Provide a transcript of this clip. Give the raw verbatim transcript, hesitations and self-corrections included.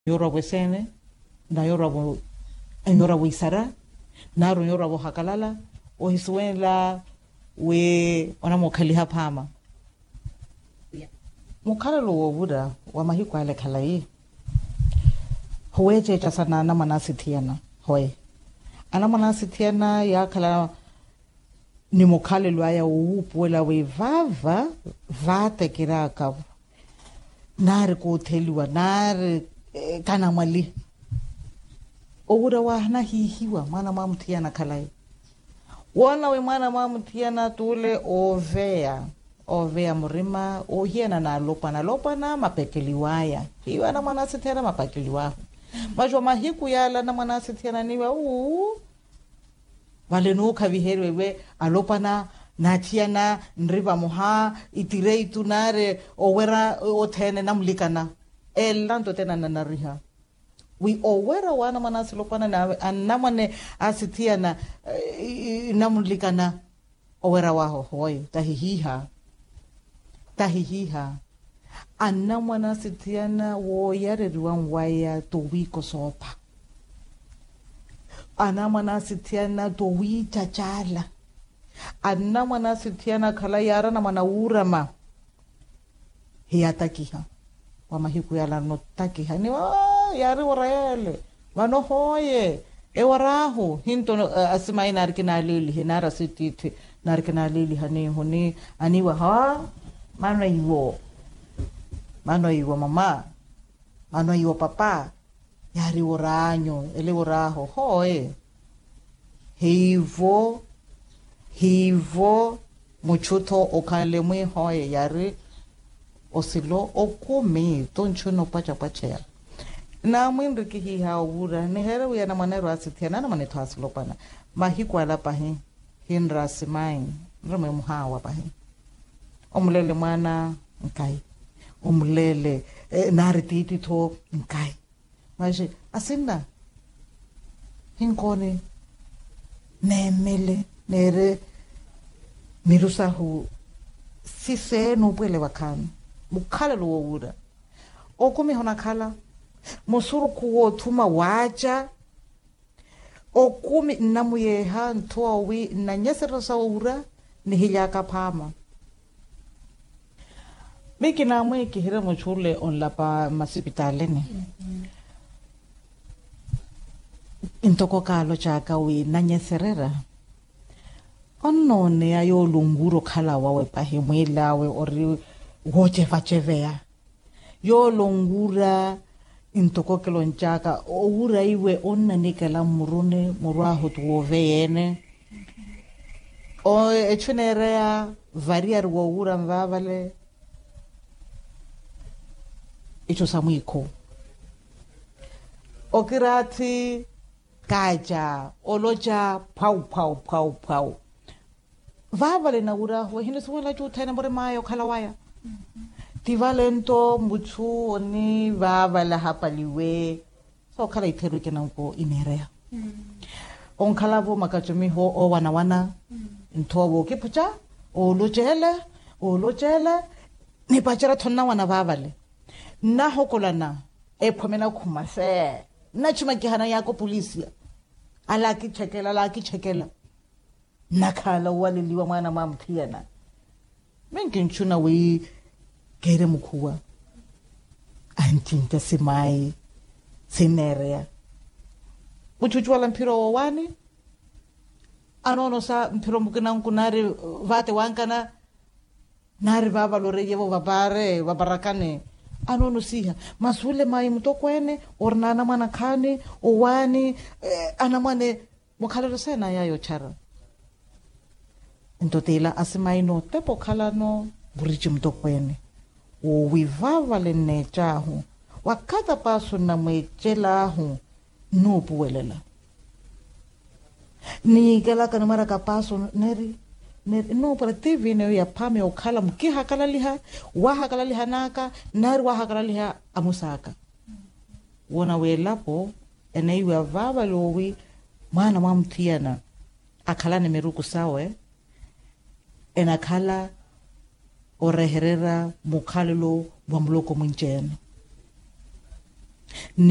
Onyorwa-vo eseene, na onyorwa-vo onyorwa-vo isara, nari onyorwa-vo ohakalala, ohisuwenla wi onamukhaliha phaama. Mukhalelo woovura wa mahiku ale khalayi, howeeceeca sana anamwane asithiyana. Hoye anamwane asithiyana yaakhala ni mukhalelo aya wowuupuwela wi vaava vaatekeraaka-vo, nari kuutheliwa nari kanamwaliha. Owura waahana hiihiwa mwaana mwa muthiyana khalayi. Woona wi mwaana mwa muthiyana t'ule ooveya ooveya murima oohiyana n'alopwana alopwana mapekeliw'aya. Hiiwe anamwane asithiyana mapekeliw'ahu. Masi wa mahiku yaala anamwane asithiyana niiwa uu. Vale nuukhaviheriwe iwe alopwana n'athiyana nri vamoha itireitu nari owera othene namulikana. Elanto tena nanariha wi owera w'anamwane asilopwana n'awe anamwane asithiyana namulikana. Owera wahu hoye tahihiiha. Tahihiiha. Anamwane asithiyana wooyareriwa nwaya towiiko soopha. Anamwane asithiyana towiicacaala. Anamwane asithiyana khalayi yaari anamwane awuurama. Hiyatakiha wa mahiku yala notakiha niwa. Yaari wara yale vano hoye. Ewar'ahu hinto asimayi naari kinaalilihe naari asittiithi naari kinaaliliha niihu ni aniiwa ha. Mano iwo mano iwo mama. Mano iwo papa. Yaari wor'anyu ele wor'ahu hoye. Hiivo hiivo muchu-tho okhanle mwihoye yaari osilo okumi tonchu noopwachapwacheya. Naamwinri kihiiha owuura niheere wi anamwane ero asithiyana anamwane-tho asilopwana. Mahiku ala pahi hinra asimayi nremwe muhaawa pahi. Omulele mwaana nkayi. Omulele naari tiitti-tho nkayi. Masi asinna hinkooni neemele neere miru sahu. Sise nuupuwele wakhaani mukhalelo woowuura. Okumi honakhala musurukhu woothuma waaca. Okumi nnamuyeeha nthowa wi nnanyesererya sawuura nihily'aka phaama. Miyo kinaamwikiherye muchu ole onlapa mmasipitaalini. Ntoko kaaloc'aka wi nnanyesererya onnooneya yoole onwuura okhala wawe pahi mwiil'awe ori woocevaceveya. Yoole onwuura ntoko kilonc'aka owuura iwe onnanikela mmuruni muru ahu ti wooveya-ene. Echu eneereya variyari woowuura nvaavale. Icho sa mwiikhu okiraathi kaaca oloca phwau phwau phwau phwau. Vaavale nawur'ahu ehinisuwela cuuthene murim'aya okhala waya. Ti vale nto muchu onivaavale ahapaliwe. Sookhala itheru ikinanko ineereya onkhala-vo makacumiho oowanawana. Nthowa wookipuca oolocele oolocele. Nipacerya-tho nnawana vaavale nnahokolana. Ephome nakhuma se nnachuma kihana yaaka opulisiya. Ala akichekela ala akichekela. Nnakhaala owaleliwa mwaana mwa muthiyana. Minkinchuna wi keere mukhuwa ancinca simayi sinneereya. Muchuchu wala mphiro woowaani anoonosa mphiro mukinanku naari vaate wankana. Naari vaavale oreiye-vo vapaare vaparakane anoonosiha masi ule mayi mutokweene orina anamwane akhaani owaani anamwane. Mukhalelo seenaya yoochara nto t'ila asimayi nootepa okhalano vuriji mutokweene woowi vaavale nneec'ahu wakati apaaso nnamweecel'ahu nnuupuwelela. Niikelaka nimwaraka paaso neri neri nnuupwela tivi ene yo yaphaama yookhala mukihakalaliha waahakalaliha n'aka nari waahakalaliha amusaaka. Woona w'elapo enaiwa vaavale owi mwaana mwa muthiyana akhalani miruku sawe enakhala orehererya mukhalelo wa muloko mwinci-ene. ni